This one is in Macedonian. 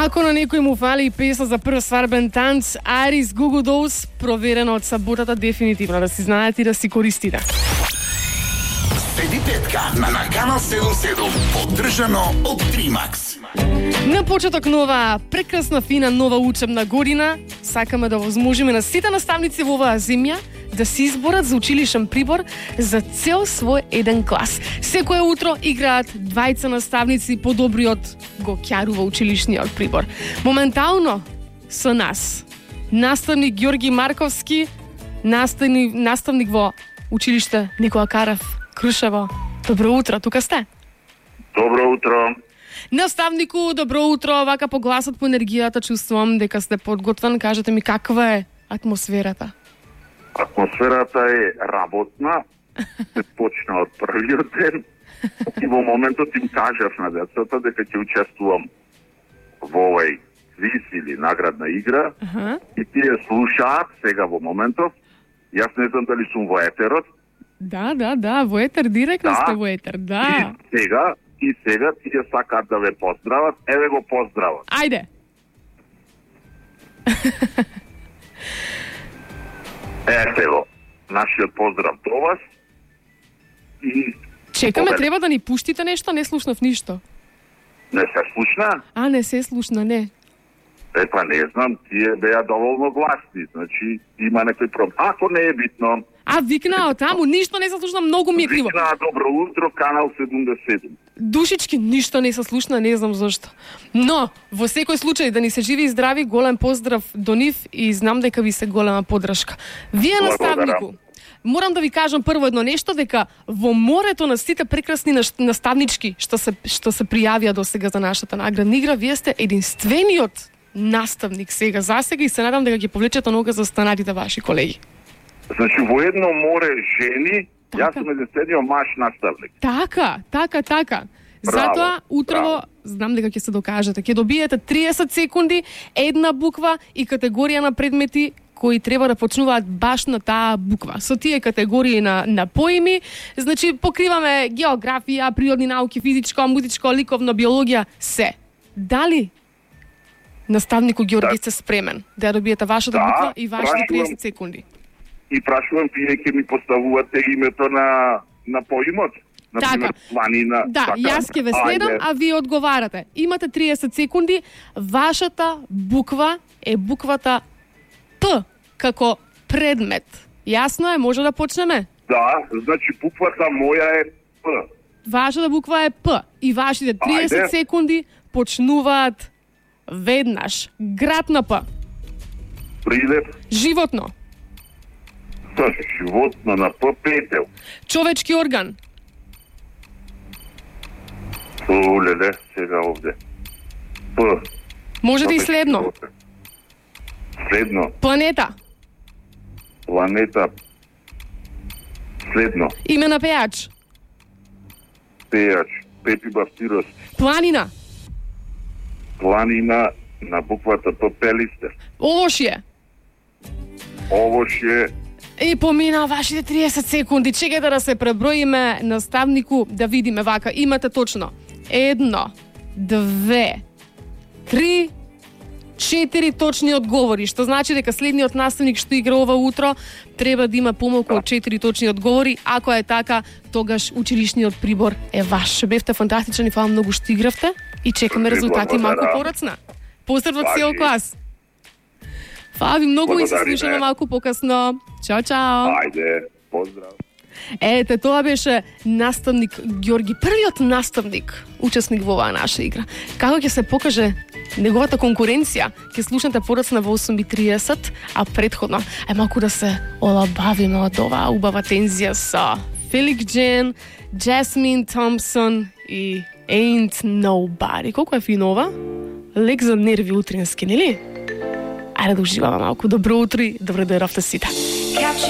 Ако на некој му фали песна за прв свадбен танц, Арис Гугу Долс, проверено од саботата, дефинитивно да си знаете и да си користите. Седи петка на Канал 77, поддржано од Тримакс. На почеток нова, прекрасна, фина, нова учебна година, сакаме да возможиме на сите наставници во оваа земја да се изборат за училишен прибор за цел свој еден клас. Секое утро играат двајца наставници, подобриот го ќарува училишниот прибор. Моментално со нас наставник Ѓорги Марковски, наставник во училиште Никола Карев, Крушево. Добро утро, тука сте? Добро утро. Наставнику, добро утро. Вака по гласот, по енергијата чувствувам дека сте подготвен. Кажете ми каква е атмосферата? Атмосферата е работна. Се почна од првиот ден. И во моментот им кажав на децата дека ќе учествувам во овој квиз или наградна игра. И тие слушаат сега во моментов. Јас не знам дали сум во етерот. Да, во етер, директно сте во етер, да. И сега тие сакаат да ве поздрават, еве го поздрават. Ајде. Ете го, нашиот поздрав до вас. И чекаме, треба да ни пуштите нешто, не слушнав ништо. Не се слушна? Не се слушна, не. Па не знам, тие беа доволно гласни, значи има некој проблем. Ако не е битно. Викнаа таму, ништо не се слушна, многу ми е криво. Викнаа добро утро, Канал 77. Душички, ништо не се слушна, не знам зашто. Но, во секој случај, да ни се живи и здрави, голем поздрав до нив и знам дека ви се голема поддршка. Вие, наставнику, морам да ви кажам прво едно нешто, дека во морето на сите прекрасни наставнички што се пријавија до сега за нашата наградна игра, вие сте единствениот наставник сега засега и се надам дека ќе повлечете нога за останатите ваши колеги. Значи во едно море жени, јас сум единствениот маж наставник. Така. Затоа утрово знам дека ќе се докажете. Ќе добиете 30 секунди, една буква и категорија на предмети кои треба да почнуваат баш на таа буква. Со тие категории на поими, значи покриваме географија, природни науки, физичко, музичко, ликовно, биологија, се. Дали наставнику Ѓорги сте спремен да добиете вашата буква и вашите 30 секунди? И прашувам, вие ќе ми поставувате името на поимот? Например, планина. Да, јас ќе ве следам, а вие одговарате. Имате 30 секунди, вашата буква е буквата П, како предмет. Јасно е, може да почнеме? Да, значи буквата моја е П. Вашата буква е П и вашите 30 секунди почнуваат веднаш. Град на П. Прилеп. Животно. Животно на П, петел. Човечки орган. Леле, сега овде. П. Можете и следно. Следно. Планета. Следно. Име на пејач. Пејач. Пепи Бафтирос. Планина. Планина на буквата П, Пелистер. Овошје. И помина вашите 30 секунди. Чекайте да се преброиме, наставнику, да видиме вака. Имате точно 1, 2, 3, 4 точни одговори, што значи дека следниот наставник што игра ова утро треба да има помалку од 4 точни одговори. Ако е така, тогаш училишниот прибор е ваш. Бевте фантастични, фала многу што игравте и чекаме резултати малку порацна. Поздрав од цел клас. Фала ви многу и се слушаме малку покасно. Чао. Ајде, поздрав. Ете, тоа беше наставник Ѓорги, првиот наставник, учесник во оваа наша игра. Како ќе се покаже неговата конкуренција, ќе слушнете порацна во 8:30, а предходно малку да се олабавиме од оваа убава тензија со Фелик Джен, Джасмин Томпсон и Ain't Nobody. Колку е финова? Лек за нерви утрински, нели? Ајде да уживаме малку. Добро утро и добро дојдовте сите.